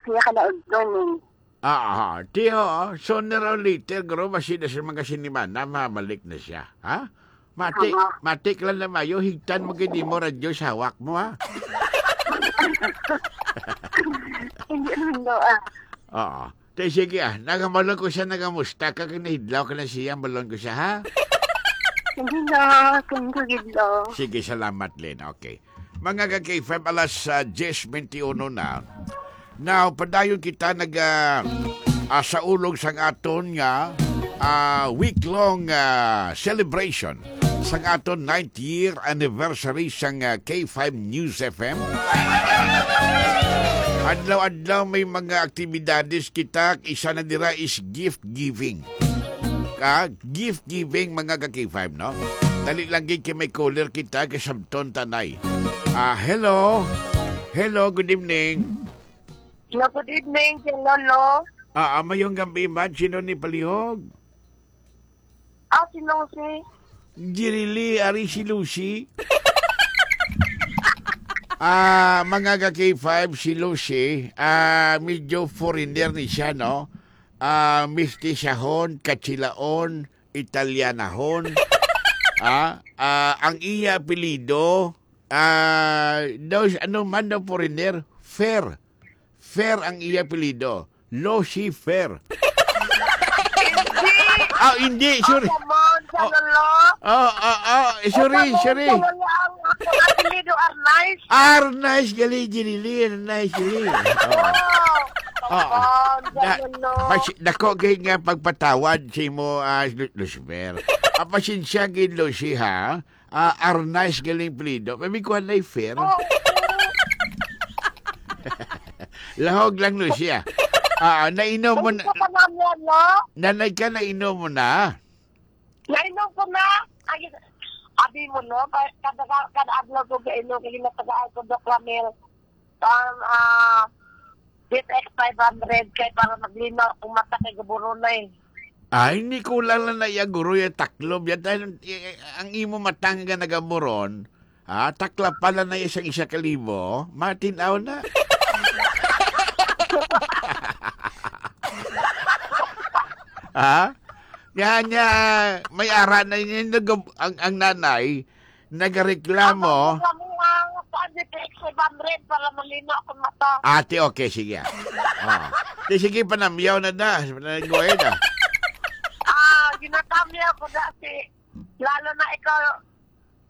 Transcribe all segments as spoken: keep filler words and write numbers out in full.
Iya ka na udto ni. Ah, ah, tiyo, sooner or later, guro, basi na sa mga sinimana, mabalik na siya, ha? Matik, Tama. Matik lang na mayo, higtan mo gid mo radyo sa hawak mo, ha? Hindi naman daw, ah. Oo. Te, sige, ah, nagamalong ko siya, nagamusta ka, kay nahidlaw ka na siya, malong ko siya, ha? Hindi na, thank you, gid, no. Sige, salamat, Lynn. Okay. Mga ka-K five, alas, ah, diyes bente uno na. Now, padayon kita nag, ah, ah, sa ulog sang aton nga, ah, week-long, ah, celebration sang aton ninth year anniversary sang, ah, K five News F M. Adlaw-adlaw may mga aktibidades kita. Isa na dira is gift giving. Ah, gift giving, mga ka-K five, no? Dali lang gid kay may caller kita, kasabton tanay. Ah, hello. Hello, good evening. Hello, good evening, Kuya Lolo. Ah, ah, mayong gabi, ma'am. Sino ni palihog? Ah, si Lucy. Jirili, ari si Lucy. Ah, mga ka-K five, si Lucy, ah, medyo foreigner ni siya, no? Ah, mistisahon, katsilaon, Italianahon. Ah, ah, ang iya apelyido, ah, daw, ano man daw, foreigner, Fair. Fair ang iya apelyido. Lucy Fair. Hindi. Ah, hindi, sorry. Come on, Oh. Kalolo. Oh, oh, oh, sorry, Ikaw, sorry. Kalolo, ang ako apelyido Arnaiz. Arnaiz, gali, ginili, Arnaiz, gali. Oh. Oh. Oh, Na, Kalolo. Mas, dako gid nga pagpatawad sa imo, ah, Lu-, Lucifer. Ah, pasensya gid, Lucy, ha? Ah, Arnaiz galing apelyido. May kuha na Fair. Oo. Lahog lang, Lucia. Ah, nainom mo Kung na, sa panahon, no? Nanay ka, nainom mo na? Nainom ko na. Ay, abi mo, no? Ka-, kada, kada adlaw ko kainom, kaya natagaan ko, Doc Ramil. Ang, ah, G T X five hundred kay para maglinaw ang mata kay gaburon na eh. Ay, hindi ko lang na naya guro yung taklob. Yan tayo, eh, ang imo matang nga nagaburon, ha? Taklapan na na isang isa ka libo, matin-aw na. Ha? Yan, yan. May ara na yun. Nag-, ang, ang nanay, nagareklamo. Ang reklamo nga, kuan, di ka extra hundred para malinaw akong mata. Ate, okay, sige. Oh. Di, sige, panamyaw na da. Panamyaw na. Ah, ginatamyaw ko dati. Lalo na ikaw,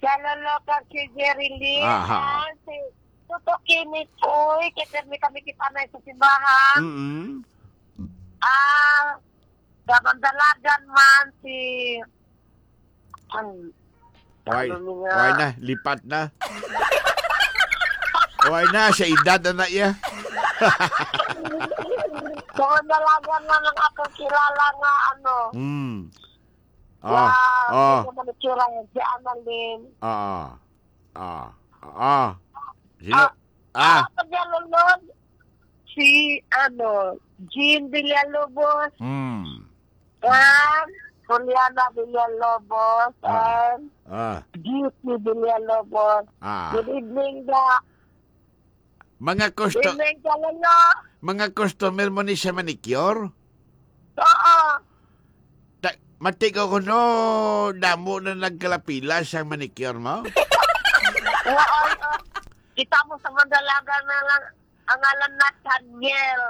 lalo na ka si Jerry Lee, Aha. ah, si Tuto Kinis, uy, kay pirmi kami kita na sa simbahan. Mm-mm. Ah, sa Mandalagan man, si, ay, Why? ano niya? Why na? Lipat na? Why na? Sa edad na na iya. Sa Mandalagan man ang akong kilala nga, ano. Mm. Oh, Wow, oh. Hindi naman itsura niya, si Annalyn. Ah, ah, ah. Sino? Ah, Ah. ah, pag nalunod, si, ano, Jean Villalobos, Hmm. and Juliana Villalobos, Ah. and Ah. Beauty Villalobos. Ah. Good evening, Da. Mga custo-, Evening, Kalolo. Mga customer mo ni sa manicure? Oo. Ta-, mati ko kuno, damo na nagkalapila sa manicure mo? Oo, oo. Kita mo sa Mandalaga na lang, ang ngalan Nathaniel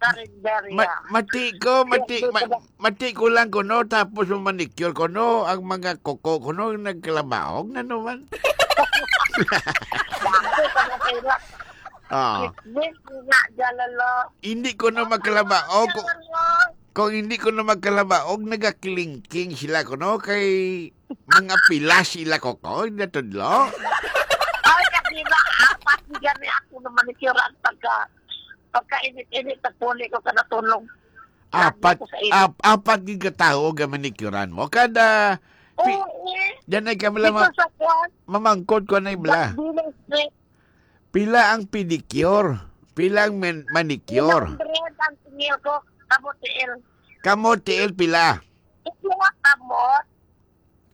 Carinderia. Ma-, mati ko, mati, Yes, ma-, yes. Mati ko lang kuno, tapos mo manicure kuno, ang mga kuko kuno nagkalabaog na naman. Dako ka na pila. Ah. Kismis nga, Jalalo. Hindi ko na magkalabaog. Kung, Jalalo. Kung hindi ko na magkalabaog, nagaklingking sila kuno kay mga pila sila kuko, natudlo. Ay, kasi na, apat ni gani ako na manicure ang pagka, pagka init-init, tagpuli ko ka natulog. Apat, Lagi ko sa init. ap-, apat gid ka tawo nga manicure-an mo. Kada, pi-, Oo, eh. Yan ay kami lang Dito ma-, sa kwan. Mamangkot ko na yung bla. Dili straight. Pila ang pedicure? Pila ang men-, manicure? One hundred ang tingil ko, kamotiil. Kamotiil pila? Ito ang kamot,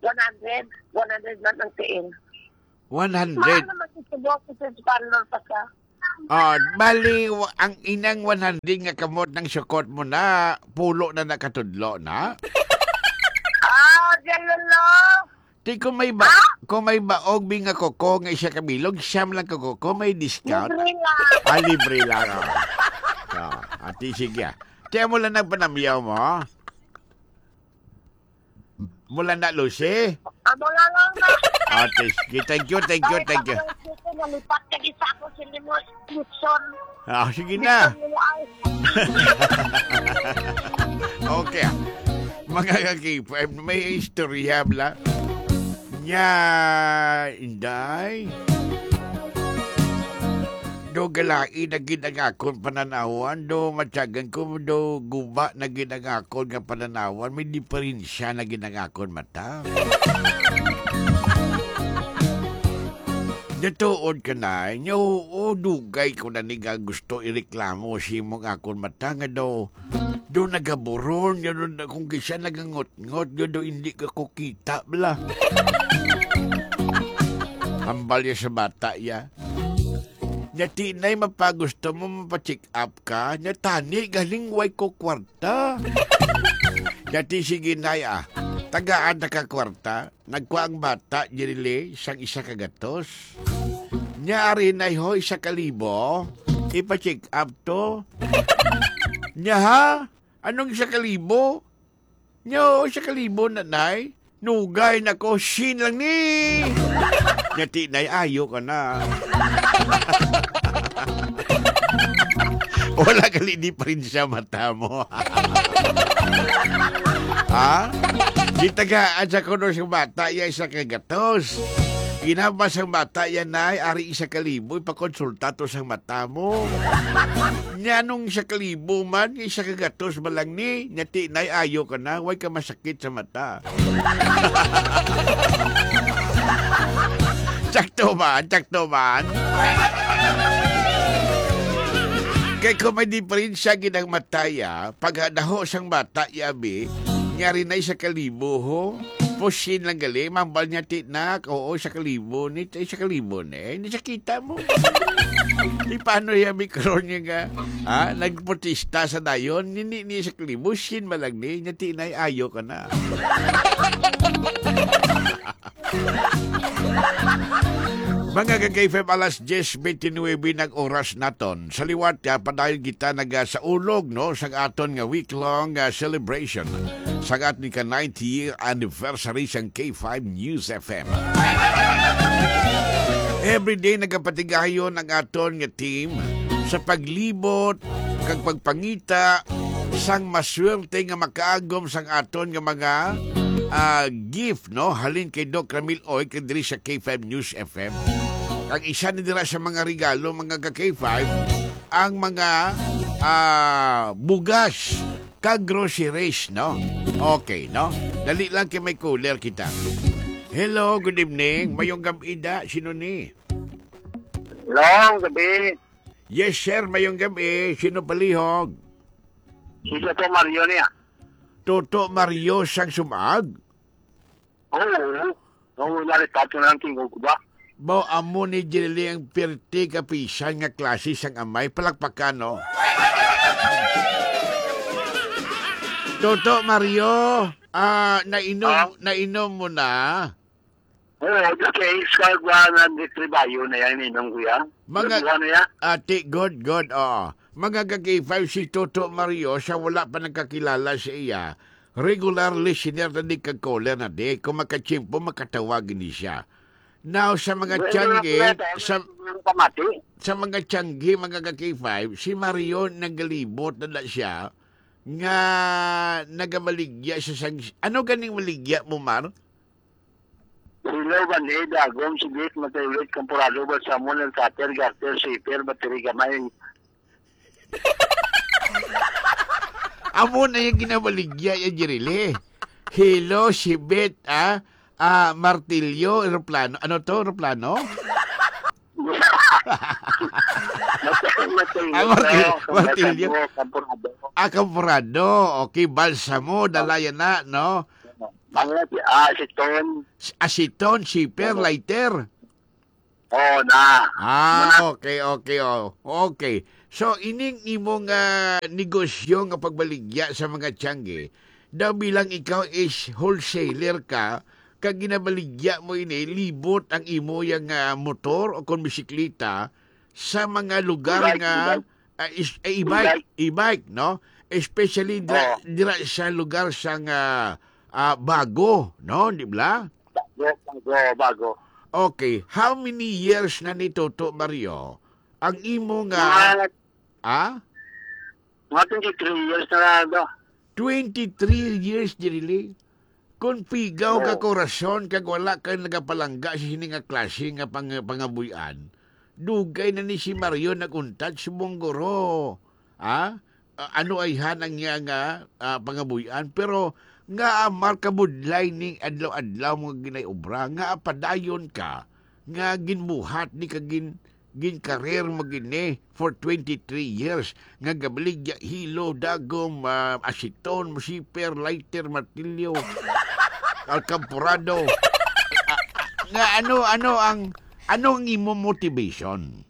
one hundred. One hundred lang ang tiil. One hundred? Mahal naman si Subo, si Sis Parlor pa siya. Oh, bali, wa-, ang inang one hundred nga kamot nang sukot mo na, pulo na nakatudlo na. Ah, ganun, no? Ti kung may ba-, Ha? kung may baog bi nga kuko nga isa ka bilog, siyam lang ka kuko, may discount. Libre lang. Ah, libre lang, oh. Oh, ati, sige, ah. Ti, amo lang nagpanamyaw mo? Mula na, Lucy? Amo lang, lang na. Ate, sige. Thank you, thank you, Ay, thank you. Panginoon, sige, nalipat ka di sa ako, sindi mo, Luzon. Ah, sige na. Luzon mo ay. Okay, ah. Mga ka-K five, may istorya bala. Nya, Inday. Do galai na gid ang akon pananawan, do matyagan ko, do guba na gid ang akon nga pananawan, may diferensya na gid ang akon mata. Natuod ka na, nya oo, dugay ko na ni nga gusto ireklamo sa imong akon mata nga daw, daw nagaburon, nga daw na kung kisa nagangot-ngot, nga daw hindi ka ko kita, bala. Hambal niya sa bata, ya. Nya, ti, nay, mapagusto mo, mapa-check up ka? Nya, tani, galing way ko kwarta. Nya, ti, sige, nay, ah. Tagaan na ka kwarta. Nagkuha ang bata, diri sang isa ka gatos. Nya, ari, nay, ho, isa ka libo. Ipa-check up to. Nya, ha? Anong isa ka libo? Nyo, isa ka libo na, nay. Nugay na ko, sin lang ni. Nya, ti, nay, ayo ka na. Wala gali diferensya mata mo. Ha? Gitagaan sa kuno sa bata, ya isa ka gatos. Ginaba sang bata, ya, nay, ari isa ka libo, ipakonsulta to sang mata mo. Nya nung isa ka libo man, isa ka gatos ba lang ni? Nya, ti, nay, ayo ka na, way ka masakit sa mata. Sakto man, sakto man. Kay kung may diferensya gid ang mata, ya, pag daho sang bata, ya, bi, nyari na isa ka libo, ho. Pusin lang gali, mambal niya, ti, nak, oo, isa ka libo ni, isa ka libo ni, ni sa kita mo. Di paano ya, bi, karon niya nga, ha, nagprotesta sa dayon, ni, ni, ni isa ka libo, sin man lang ni, nya, ti, nay, ayo ka na. Mga ka-K five, alas diyes bente nuebe nag oras naton. Sa liwat, ah, padayon kita naga sa ulog, no, sa aton nga week-long, ah, celebration sa aton ka ninety year anniversary sang K five News F M. Every day nagapatigayon ang aton nga team sa paglibot kag pagpangita sang maswerte nga makaagom sang aton nga mga, ah, gift, no? Halin kay Doc Ramil Oy kag diri sa K five News F M. Ang isa ni dira sa mga regalo, mga ka-K five, ang mga, ah, bugas kag groceries, no? Okay, no? Dali lang kay may caller kita. Hello, good evening. Mayong gab-i da. Sino ni? Hello, gabi. Yes, sir. Mayong gab-i. Sino palihog? Si Toto Mario niya. Toto Mario sang Sumag? Oo. Oo, naripato na ang tingog ko ba? Mao amo ni Jirili ang pirti kapisan nga klase sang amay. Palakpakan, no? Toto Mario, ah, nainom, Ah? nainom mo na? Oo, okay. Sa one hundred three bayo na yan, inom ko yan. Mga, Nabuhan na yan. Ate, good, good, oo. Mga ka-K five, si Toto Mario, sa wala pa nagkakilala sa iya, regular listener na di kag caller na di. Kung makatsimpo, makatawag ni siya. Now, sa mga Well, tiyanggi, wala pa, sa, wala pa mati. sa mga tiyanggi, mga ka-K five, si Mario nagalibot na na siya nga nagamaligya siya sang, ano ganing maligya mo, Mar? Hello, Banhid, Agom, Sigit, Matayulit, Kamporado, Balsamon, Alcater, Garter, Siper, Battery, Gamay. Amo na yung ginabaligya ya, Jirili. Hilo, sibit, ah, ah, martilyo, eroplano. Ano to, eroplano? Matay, matay, Ah, martil-, no? Martilyo. Kamporado. Ah, kamporado. Okay, balsamo, dalayan na, no? Mga, ah, aseton. Aseton, siper, Oo. lighter. Oo na. Ah, Muna. Okay, okay, oh. Okay. So, ining imong, ah, negosyo nga pagbaligya sa mga tiangge, daw bilang ikaw is wholesaler ka, kag ginabaligya mo ini, libot ang imo yang, ah, motor o kon bisikleta sa mga lugar E-bike, nga, e-bike. ah, is, ah, e-bike, E-bike. e-bike, no? Especially dira, Oo. dira sa lugar sang, ah, ah, Bago, no? Di ba? Bago, Bago, Bago. Okay. How many years na ni Toto Mario ang imo nga, Mga, ah? mga twenty-three years na lang, do. Twenty-three years, Jirili. Kung pigaw ka Oo. korason kag wala ka nagapalangga sa sini nga klase nga pang-, pangabuy-an, dugay na ni si Mario nag-untat subong guro. Ah? Ah, ano ayhan ang iya nga, ah, pangabuy-an? Pero nga amar kabudlay ning adlaw-adlaw mo nga ginay-obra, nga padayon ka, nga ginbuhat ni kag gin-, ginkarer mo gini for twenty-three years, nga gabaligya hilo, dagom, ah, asiton, siper, lighter, martilyo, alkampurado. Ah, ah, nga ano, ano ang, ano ang imo motivation?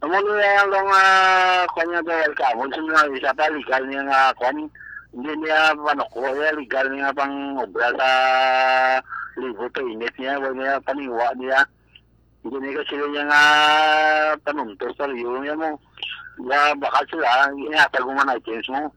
Amo ni ang, ah, kanya daw, welcome. Sa mga isa pa, legal niya nga, kwan, hindi niya panuklo, eh, legal niya pang obra sa libot sa init niya, wala niya paniwa niya. Hindi niya kasi niya nga panuntos sa liyo niya mo. Nga bakal sila, ihatag mo man items mo.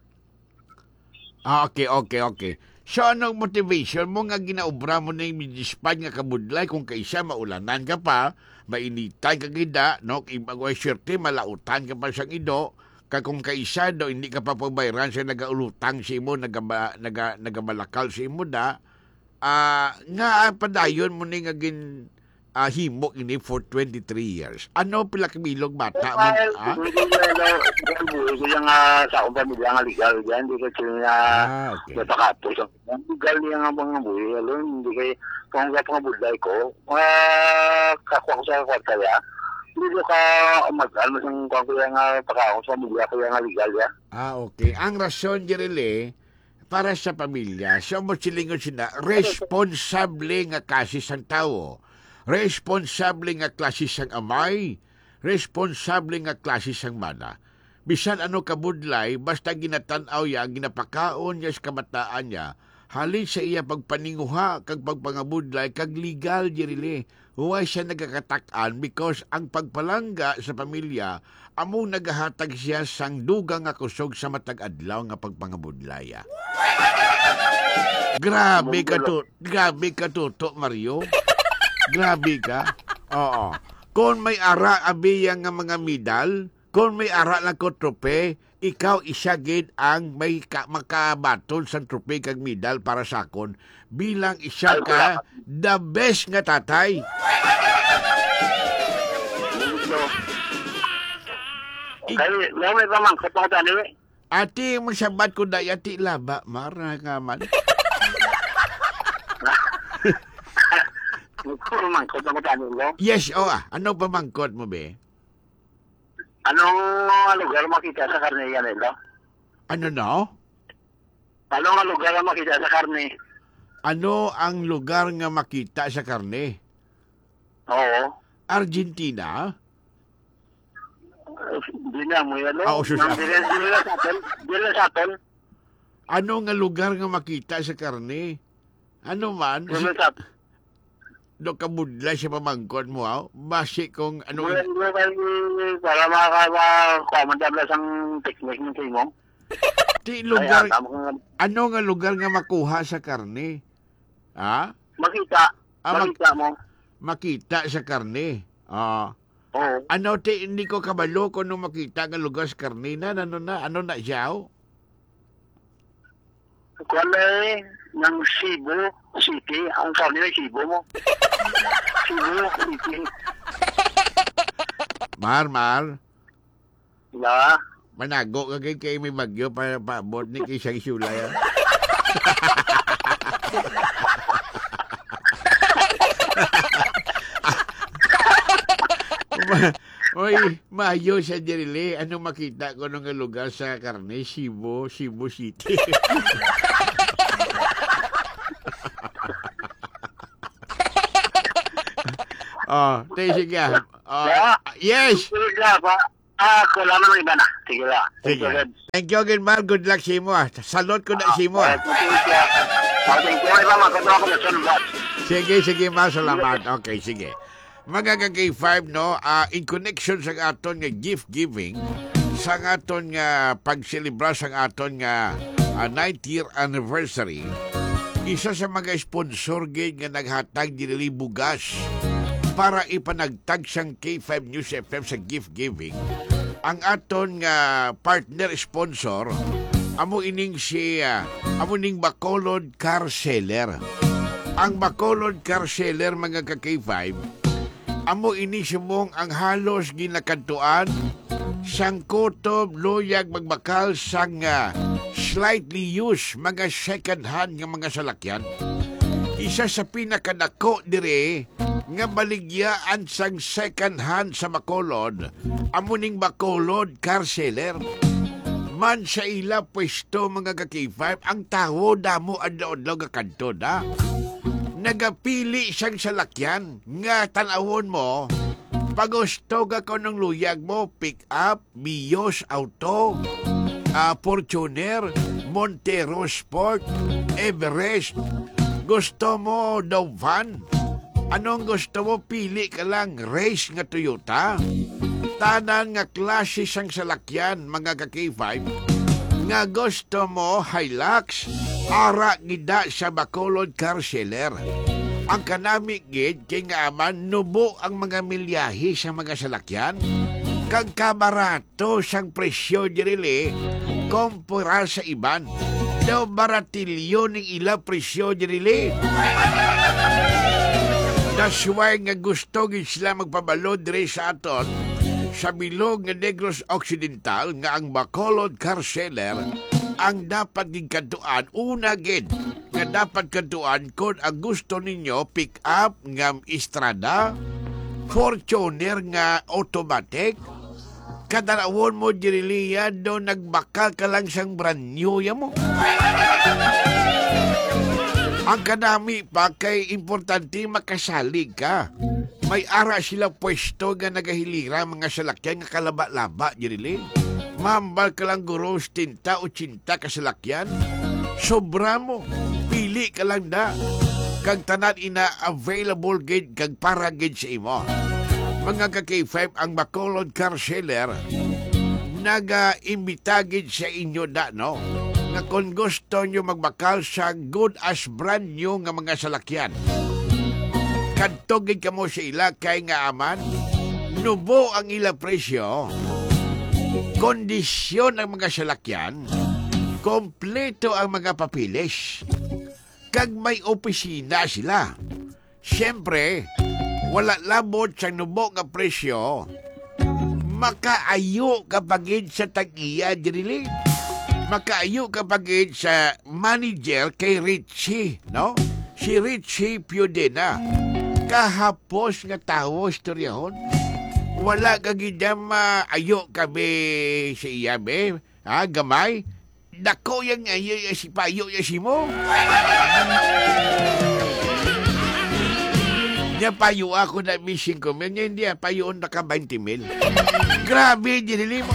Ah, okay, okay, okay. So, anong motivation mo nga ginaobra mo na yung midispad nga kabudlay kung kaisa maulanan ka pa, mainitan ka gida, no? Kay mag-, swerte, malautan ka pa sang ido, kag kung kaisa do, hindi ka pa pabayran sa nagaulutang sa imo, nagaba-, naga-, nagabalakal sa imo da, ah, nga padayon mo ni nga gin-, ah, himo ini for twenty-three years? Ano, pila ka bilog bata mo, Well, ah? Hindi ko na, ano, hindi ko yung, ah, sa akong pamilya nga legal yan. Hindi ko sila na Ah, okay. napakapos ang legal niya nga mga buhay. Alam, hindi kay, kung nga pangabudlay ko, ah, kakuha ko sa kwarta ya. Hindi ko ka mag-, ano, sang kuha ko yan nga pagkaon sa pamilya ko yan nga legal ya. Ah, okay. Ang rason, Jirili, para sa pamilya, sa mo silingon sina, responsable nga kasi sang tawo, responsable nga klase sang amay, responsable nga klase sang mana. Bisan ano kabudlay, basta ginatan-aw ya, ginapakaon niya sa kabataan niya, halin sa iya pagpaninguha kag pagpangabudlay kag legal, Jirili. Huway siya nagakatak-an because ang pagpalangga sa pamilya amo nagahatag siya sang dugang nga kusog sa matag adlaw nga pagpangabudlaya. Grabe ka to, grabe ka, Toto Mario. Grabe ka. Oo. Kung may ara abiya nga mga medal, kung may ara lang ko trope, ikaw isa gid ang may ka-, makabaton sang trope kag medal para sa akon bilang isa Ay, ka salamat. the best nga tatay. Thank you. Ik- Kay, may, may pamangkot ako tani, eh. Ati, magsabat ko, day, ati, laba, mara nga man. May pamangkot ako tani, no? Yes, o, ah. Ano pamangkot mo, be? Anong lugar makita sa karne yan, Elo? Ano, no? Anong lugar ang makita sa karne? Ano ang lugar nga makita sa karne? Oo. Argentina? Hindi na mo yan, no? Ah, oh, sus-, Nang dire-, dire na sa atin. Dire na sa atin. Ano nga lugar nga makita sa karne? Ano man? Dire na sa atin. Do kabudlay sa pamangkot mo, ha? Basi kung ano Wala, wala, wala, para makaka-, makakuha man tabla sang technique ng sa imo. Ti Ay, lugar, ah, tama ka nga. Ano nga lugar nga makuha sa karne? Ha? Makita. Ah, mag-, Makita mo. Makita sa karne. Ah. Oo. Ano, ti, hindi ko kabalo kung ano makita nga lugar sa karne na, ano na, ano na siya, oh? Kuwan na eh, ng Cebu City. Ang karne ng Cebu mo. Cebu City. Mar, Mar. Ya. Manago ka kay, kay may bagyo pa, paabot ni kay siyang sulay, ah. Ma-, oy, maayo siya, Jirili. Ano makita ko nung nga lugar sa karne? Cebu, Cebu City. Oh, te, sige, ah. Oh, Yeah. yes. Sige, pa. Ah, ako lang naman iba na. Sige lang. Thank Sige. you, Lord. Thank you again, Mar. Good luck sa imo, ah. Salute ko na Ah, sa imo, ah. eh, thank you. Ah, thank you. Iba, magkatawa ko na sa lugar. Sige, sige, Mar. Salamat. Okay, sige. Mga ka-K five, no? Ah, in connection sa aton nga gift giving, sa aton nga pagselebra sa aton nga, ah, ninth year anniversary, isa sa mga sponsor gid nga naghatag diri bugas para ipanagtag sang K five News F M sa gift giving, ang aton nga partner sponsor, amo ining si, ah, amo ning Bacolod Car Seller. Ang Bacolod Car Seller, mga ka-K five, amo ini subong ang halos ginakadtuan sang kutob, luyag, magbakal sang, ah, slightly used, mga second hand nga mga salakyan. Isa sa pinakadako diri nga baligyaan sang second hand sa Bacolod, amo ning Bacolod Car Seller. Man sa ila pwesto, mga ka-K five, ang tawo damo adlaw-adlaw gakadto na. Nagapili sang salakyan nga tan-awon mo, pagusto ka kung anong luyag mo, pick up, Vios Auto, ah, Fortuner, Montero Sport, Everest. Gusto mo daw van? Anong gusto mo? Pili ka lang, race nga Toyota. Tanan nga klase sang salakyan, mga ka-K five, nga gusto mo, Hilux, ara gida sa Bacolod Car Seller. Ang kanami gid kay nga man nubo ang mga milyahe sa mga salakyan, kag kabarat to sang presyo diri li kumpara sa iban. Daw baratilyo ning ila presyo diri li. That's why nga gusto gid sila magpabalo diri sa aton sa bilog nga Negros Occidental nga ang Bacolod Car Seller ang dapat gid kadtuan, una gid nga dapat kadtuan kon ang gusto ninyo pick up nga Estrada, Fortuner nga automatic, Kadanawon mo diri liya do nagbakal ka lang sang brand new ya mo. Ang kadami pa kay importante makasalig ka. May ara sila pwesto nga nagahilira mga salakyan nga kalaba-laba diri li. Mambal ka lang guro setenta, ochenta ka salakyan. Sobra mo. Pili ka lang da. Kag tanan ina available gid kag para gid sa imo. Mga ka-K five, ang Bacolod Car Seller nagaimbita gid sa inyo da, no? Nga kon gusto nyo magbakal sa good as brand new nga mga salakyan, kadto gid kamo sa ila kay nga aman nubo ang ila presyo, kondisyon ang mga salakyan, kompleto ang mga papeles, kag may opisina sila. Siyempre, wala labot sa nubo nga presyo, makaayo ka pa gid sa tag-iya diri li. Makaayo ka pa gid sa manager kay Richie, no? Si Richie Piodena. Kahapos nga tawo, istoryahon. Wala ka gid maayo ka, be, sa iya, be. Ha, gamay? Dako yang ayo ya si payo ya si mo. Nya payo ako na mi singko mil, nya hindi, ah, payoon na ka twenty mil. Grabe, dinili mo.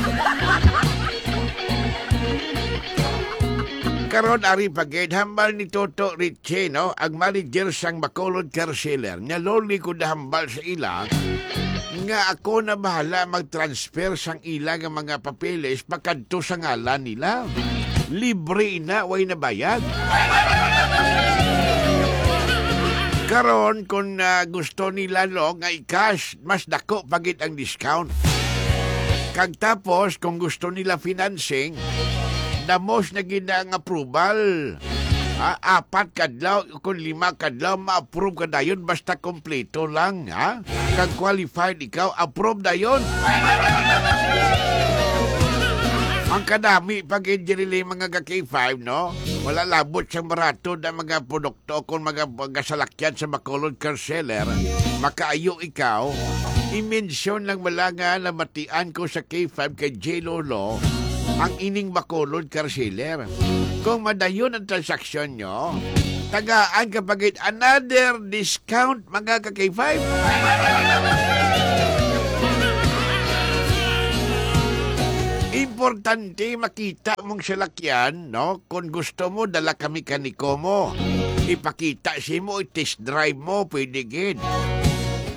Karon, ari pa gid, hambal ni Toto Richie, no? Ang manager sang Bacolod Car Seller. Nya loli ko nahambal sa ila nga ako na bahala mag-transfer sang ila nga mga papeles pakadto sa ngalan nila. Libre na, way na bayad. Karon, kung, ah, gusto nila, no, nga i-cash, mas dako pa gid ang discount. Kag tapos, kung gusto nila financing, damos na gid na ang approval. Ha, apat kadlaw, kung lima kadlaw, ma-approve ka dayon, basta kompleto lang, ha? Kag qualified ikaw, approve dayon. Ang kadami pa gid diri, mga ka-K five, no? Wala labot sang barato na mga produkto kon mga, mga salakyan sa Bacolod Car Seller. Makaayo ikaw, i-mention lang bala nga nabatian ko sa K five kay J Lolo ang ining Bacolod Car Seller. Kung madayon ang transaksyon nyo, Tagaan ka pa gid another discount, mga ka-K five. Importante makita mong salakyan, no? Kung gusto mo, dala ka mekaniko mo. Ipakita sa imo, i-test drive mo, pwede gid.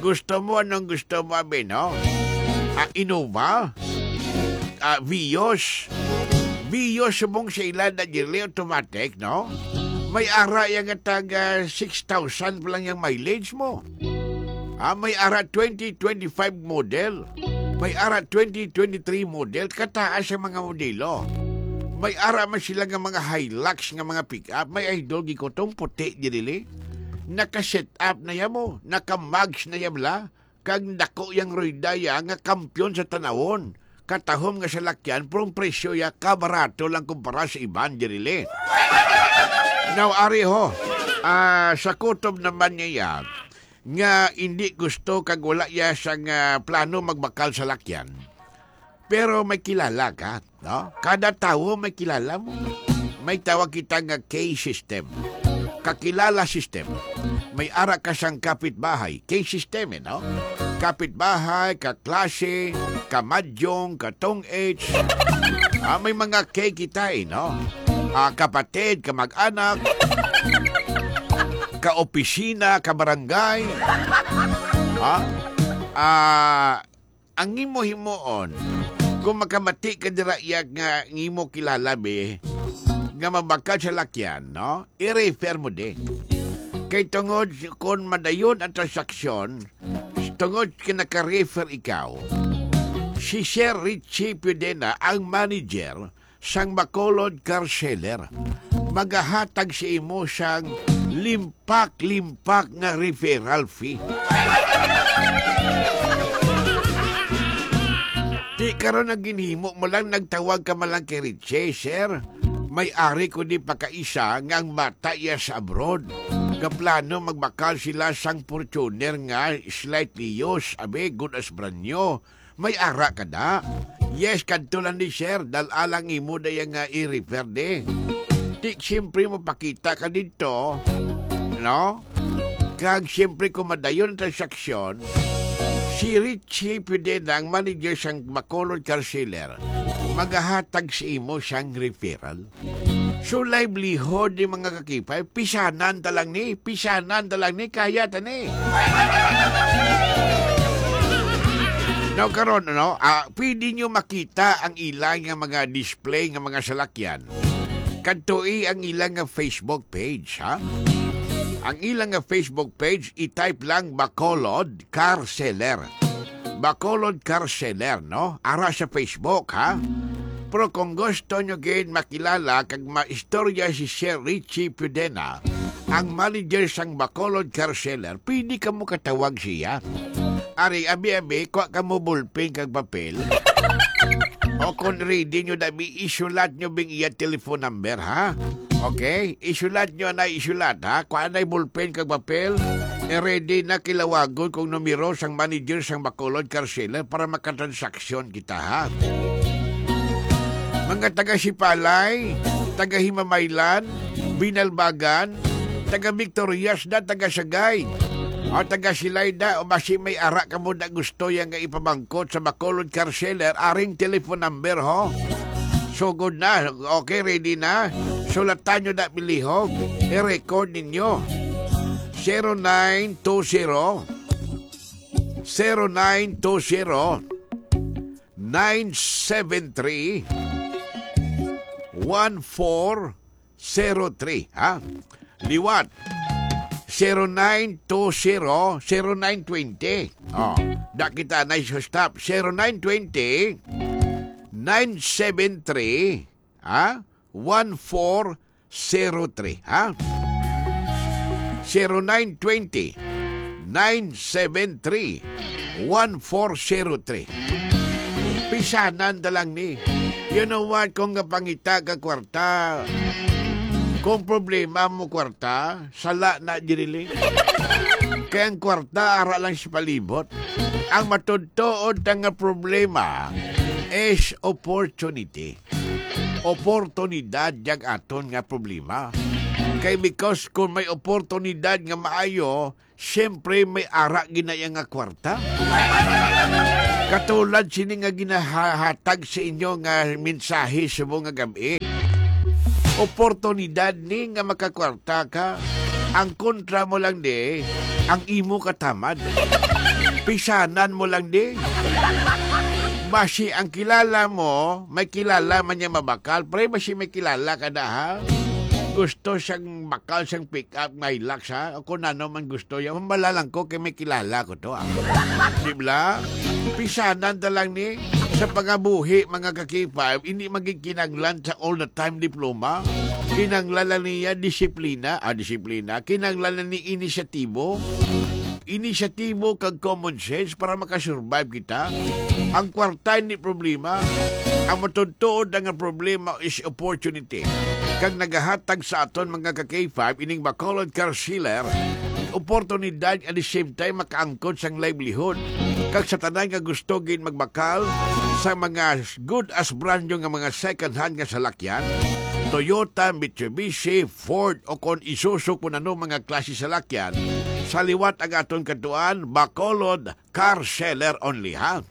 Gusto mo, anong gusto mo, abi, no? Ah, Innova? Ah, Vios? Vios subong sa ila na dili automatic, no? May ara yang nga tag, ah, six thousand pa lang yang mileage mo. Ah, may ara twenty twenty-five model. May ara twenty twenty-three model. Kataas ang mga modelo. May ara man sila nga mga Hilux nga mga pick-up. May idol gikutong puti diri. Naka-set up na ya mo. Naka-mags na ya bala. Kag dako yang rueda ya nga kampiyon sa tanawon. Katahom nga salakyan, pero ang presyo ya kabarato lang kumpara sa iban diri. Now, ari ho, ah, sa kutob naman niya ya, nga hindi gusto kag wala ya sang, ah, plano magbakal sa lakyan. Pero may kilala ka, no? Kada tawo may kilala mo. May tawag kita nga K system. Kakilala system. May ara ka sang kapitbahay, K system, eh, no? Kapitbahay, kaklase, kamadyong, katong age. Ah, may mga K kita, eh, no? Ah, kapatid, kamag-anak, kaopisina, kabarangay. Ha? Ah, ang imo himuon, kung makamati ka dira iya nga ang imo kilala, be, nga mabakal sa lakyan, no? I-refer mo din. Kay tungod kon madayon ang transaksyon, tungod kay naka-refer ikaw, si Sir Richie Pudena, ang manager, sang Bacolod Car Seller, magahatag sa imo sang limpak-limpak nga referral fee. Di karon ang ginhimo mo lang, nagtawag ka man lang kay Richie, "Sir, may ari ko di pakaisa nga ang bata iya sa abroad. Gaplano magbakal sila sang Fortuner nga slightly used, abi, good as brand new." May ara ka da? Yes, kadto lang ni sir, dal-a lang imo da iya nga i-refer di. Ti, siyempre, mapakita ka didto, no? Kag siyempre, kung madayon ang transaksyon, si Richie Pidena, ang manager sang Bacolod Car Seller, magahatag sa imo sang referral. So, livelihood ni mga kakipay, pisanan ta lang ni, pisanan ta lang ni, kaya ta ni. Now, karon, ano, ah, pwede nyo makita ang ilang nga mga display nga mga salakyan. Kadtoi ang ilang nga Facebook page, ha? Ang ilang nga Facebook page, i-type lang Bacolod Car Seller. Bacolod Car Seller, no? Ara sa Facebook, ha? Pero kung gusto nyo gid makilala kag maistorya si Sir Richie Pudena, ang manager sang Bacolod Car Seller, pwede ka mo katawag siya. Ari, abi-abi, kuha ka mo bulpen kag papel. O kung ready nyo, dabi, isulat nyo bing iya telephone number, ha? Okay? Isulat nyo na, isulat, ha? Kuha na bulpen kag papel. E ready na, kilawagon kong numero sang manager sang Bacolod Car Seller para makatransaksyon kita, ha? Mga taga Sipalay, taga Himamaylan, Binalbagan, taga Victorias da, taga Sagay, o taga Silayda, o basi may ara ka mo na gusto yan nga ipamangkot sa Bacolod Car Seller, aring telephone number, ho. Sugod na. Okay, ready na? Sulatan nyo na, bilihog. I-record ninyo. Zero nine two zero, zero nine two zero, nine seven three, one four zero three, ha? Liwat. Zero nine two zero, zero nine twenty. Oh, da kita na sa stop. Zero nine twenty, nine seven three, ha? One four zero three, ha? Zero nine twenty, nine seven three, one four zero three. Pisanan ta lang ni. You know what? Kung nga pangita ka kwarta, kung problema mo kwarta, sala na diri. Kay ang kwarta, ara lang sa palibot. Ang matudtuod ta nga problema is opportunity. Oportunidad yang aton nga problema. Kay because kung may oportunidad nga maayo, siyempre may ara gid na iya nga kwarta. Katulad sini nga ginahatag sa inyo nga mensahe subong nga gab-i. Oportunidad ni nga makakwarta ka. Ang kontra mo lang di, ang imo katamad. Pisanan mo lang di. Basi ang kilala mo, may kilala man niya mabakal. Pre, basi may kilala ka na, ha? Gusto siyang bakal, siyang pick up, may Hilux, ha? O kung ano man gusto niya, mambala lang ko kay may kilala ko to, ah. Di ba? Pisanan na lang ni sa pangabuhi, mga ka-K five, hindi maging kinanglan sa all the time diploma. Kinanglan lang niya disiplina, ah, disiplina. Kinanglan lang ni inisyatibo. Inisyatibo kag common sense para makasurvive kita. Ang kwarta hindi problema. Ang matuod-tuod nga problema is opportunity. Kag nagahatag sa aton mga ka-K five ining Bacolod Car Seller, oportunidad, at the same time makaangkon sang livelihood. Kag sa tanan nga gusto gid magbakal sa mga good as brand new nga mga second hand nga salakyan, Toyota, Mitsubishi, Ford, o kon Isuzu, kun ano mga klase salakyan, sa liwat ang aton kadtuan, Bacolod Car Seller only, ha?